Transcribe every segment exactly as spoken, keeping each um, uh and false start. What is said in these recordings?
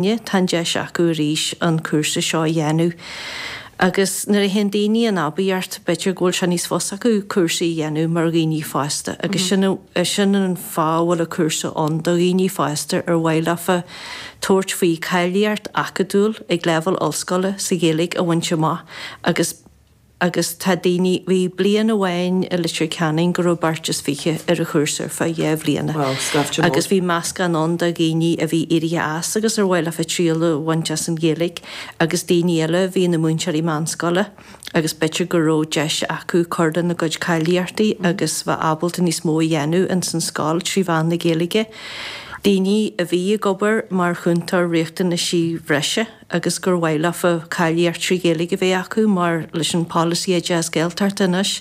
Tá an deis acu arís an cúrsa seo a dhéanamh. Agus nuair a théann daoine in aibíocht, b'fhéidir go bhfuil sé níos fusa acu cúrsaí a dhéanamh mar dhaoine fásta, agus sin sin an fáth a bhfuil an cúrsa ann do dhaoine fásta ar mhaith leofa tabhairt faoi cáilíocht acadúil ag leibhéal ollscoile sa Ghaeilge a bhaint amach agus agus tá daoine, bhí bliain amháin i Leitir Ceanainn go raibh beirt is fiche ar an chúrsa ar feadh dhá bhliana. Wow, scaifte mór. Agus bhí meascán ann de dhaoine a bhí éirithe as agus ar mhaith leofa triail a bhaint as an Ghaeilge agus daoine eile a bhí ina múinteoirí meánscoile agus b'fhéidir go raibh deis acu cur lena gcuid cáilíochtaí agus bheith ábalta níos mó a dhéanamh ins an scoil trí mheán na Gaeilge. Daoine a bhí ag obair mar chúntóir riachtanaisí bhreise agus gur mhaith leofa cáilíocht trí Ghaeilge a bheith acu mar leis an polasaí Oideachas Gaeltachta anois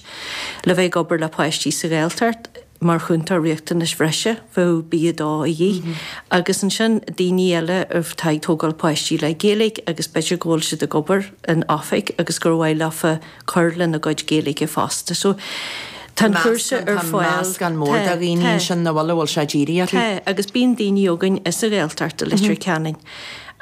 le bheith ag obair le páistí sa Ghaeltacht mar chúntóir riachtanais bhreise bheadh B a dó a dhíth. Agus ansin daoine eile atá ag tógáil páistí le Gaeilge agus b'fhéidir go bhfuil siad ag obair in oifig agus gur mhaith leofa cur lena gcuid Gaeilge fosta. So tá an cúrsa ar Tá fáil. meascán mór de Tá, dhaoine tá. ansin nach bhfuil a bhfuil sé dírithe orthu. Tá, agus bíonn daoine againn as an Ghaeltacht i Leitir Ceanainn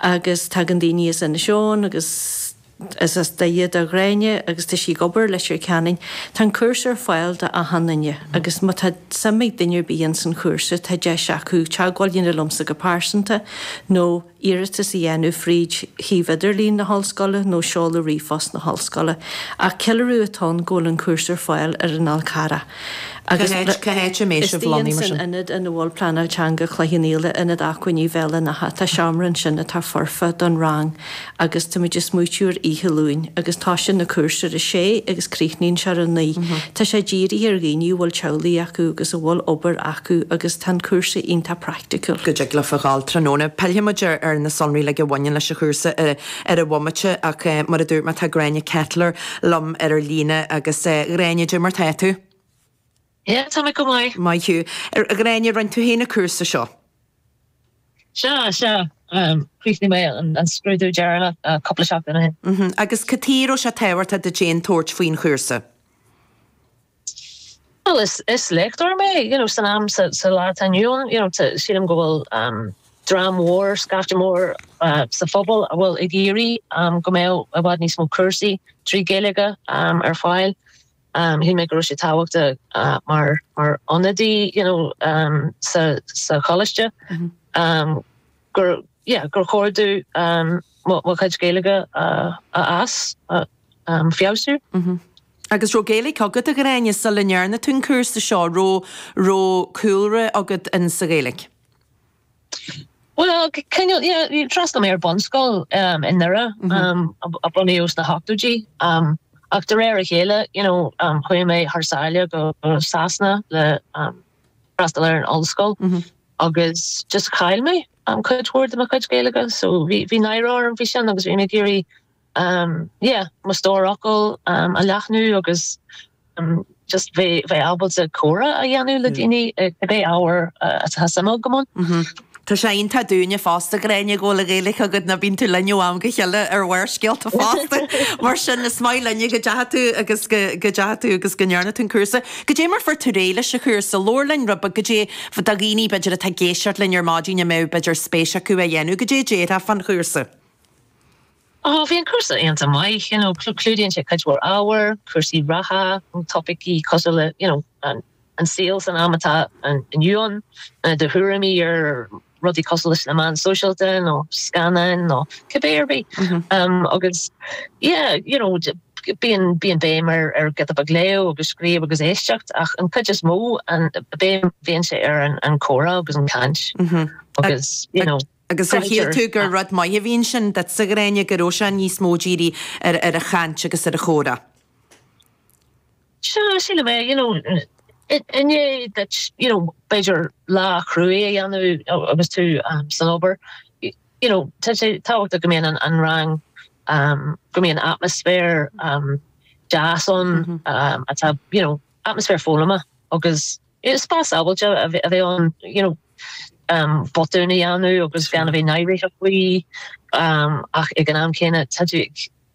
agus tagann daoine as Inis Eoghain agus is as Doire do Ghráinne agus tá sí ag obair i Leitir Ceanainn. Tá an cúrsa ar fáil do achan duine agus má tá suim ag duine ar bith ins an chúrsa tá deis acu teagmháil a dhéanamh liomsa go pearsanta nó iarratas a dhéanamh fríd shuíomh idirlín na hollscoile nó seoladh ríomhphost na hollscoile. Ach ceiliúradh atá ann go bhfuil an cúrsa ar fáil ar an Fhál Carrach. Agus Cá háit- cá háit a mbeidh Is sibh dí lonnaithe mar san sin? ionad ina bhfuil pleanáil teanga Chloich Cheann Fhaola, ionad acmhainní Bhéal an Átha. Tá seomra ansin atá foirfe don rang agus táimid ag smaoitiú ar oíche Luain agus tosaíonn an cúrsa ar a sé agus críochnaíonn sé ar a naoi. Tá sé dírithe ar dhaoine a bhfuil teaghlaigh acu agus a bhfuil obair acu agus tá an cúrsa iontach praiticiúil. go dtig leofa ghabháil tráthnóna. Pillfidh muid ar, ar na sonraí uilig a bhaineann leis an chúrsa ar, ar an bhomaite ach eh, mar a dúirt mé tá Gráinne Kettler liom ar ar líne agus eh, Gráinne, cad é mar tá tú? Yeah, tá mé go maith. Maith thú. Ar Ghráinne rinne tú féin an cúrsa seo. Sea, sea, um, chríochnaigh mé an, an scrúdú deireanach uh, cúpla seachtain ó shin. Mm -hmm. Agus cad chuige a raibh sé tábhachtach duit féin tabhairt faoin chúrsa. Well, is, is léachtóir mé, you know, san am sa, sa lá atá inniu ann, you know, sílim go bhfuil um, dream mór, scaifte mór uh, sa phobal a bhfuil ag iarraidh um, go mbeadh i bhfad níos mó cúrsaí trí Ghaeilge um, ar fáil. Um, Shíl mé go raibh sé tábhachtach uh, mar mar ionadaí you know, um, sa, sa choláiste. Mm -hmm. um, gur yeah, gur chóir domh um, mo mo chuid Gaeilge uh, a as uh, um, feabhsú. Mm -hmm. Agus raibh Gaeilge agat a Ghráinne sula ndearna tú an cúrsa seo raibh raibh cúlra agat in sa Ghaeilge. Well, cineál yeah, d'fhreastail mé ar bunscoil um, i nDoire mm -hmm. um, a bunaíodh sna hochtóidí. Um, ach de réir a chéile you know, um, chuaigh mé thar sáile go, go Sasana le um, freastal ar an ollscoil mm -hmm. agus just chaill mé um, cuid mhór de mo chuid Gaeilge, so bhí bhí náire orm faoi sin agus bhí mé ag iarraidh um, yeah, mo stór focal um, a leathnú agus um, just bheith bheith ábalta comhrá a dhéanamh le daoine cibé ábhar atá suim agam ann. Mm -hmm. Tá sé iontach dúinne fosta Gráinne go bhfuil Gaeilge agat na bíonn tú linn ó am go chéile ar Bharrscéalta fosta. Mar sin is maith linne go dteachaigh tú agus go dteachaigh tú agus go ndearna tú an cúrsa. Goidé mar fuair tú réidh leis an chúrsa labhair linn rud goidé do dhaoine b'fhéidir atá ag éisteacht linn ar maidin a mbeadh b'fhéidir spéis acu a dhéanamh, goidé déarfá fán chúrsa. Oh, bhí an cúrsa iontach maith, you know, clúdaíonn sé cuid mhór ábhar, cúrsaí reatha, topaicí cosúil le, you know, an, an saol san am atá inniu ann, do thuairimí ar rudaí cosúil leis na meáin sóisialta nó scannáin nó cibé ar bith. Mm -hmm. um, agus yeah, you know, bíonn bíonn béim ar ar giota beag léamh agus scríobh agus éisteacht ach an chuid is mó an béim bhíonn sé ar an, an comhrá agus an caint mm -hmm. agus you know, Agus ar shíl tú gur rud maith a bhí ansin duitse a Ghráinne go raibh sé níos mó dírithe ar ar a chaint agus ar a chomhrá. Sea, sílim é, you know, inné that you know, b'fhéidir lá cruaidh a dhéanamh agus tú um, san obair, you know, tá sé tábhachtach go mbíonn an, an rang um, go mbíonn atmaisféar um, deas ann mm -hmm. um, atá you know, atmaisféar foghlama agus spás sábháilte a bheith ann you know, um, botún a dhéanamh agus gan a bheith náireach faoi um, ach ag an am céanna tá tú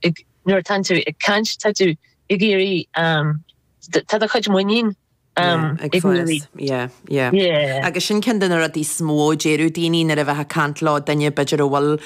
ag nuair atá tú ag caint tá tú ag iarraidh um, tá do chuid muinín Um, ag fás. Yeah, yeah. Yeah. Agus sin ceann de na rudaí is mó a deireadh daoine nuair a bheith ag caint le duine b'fhéidir a bhfuil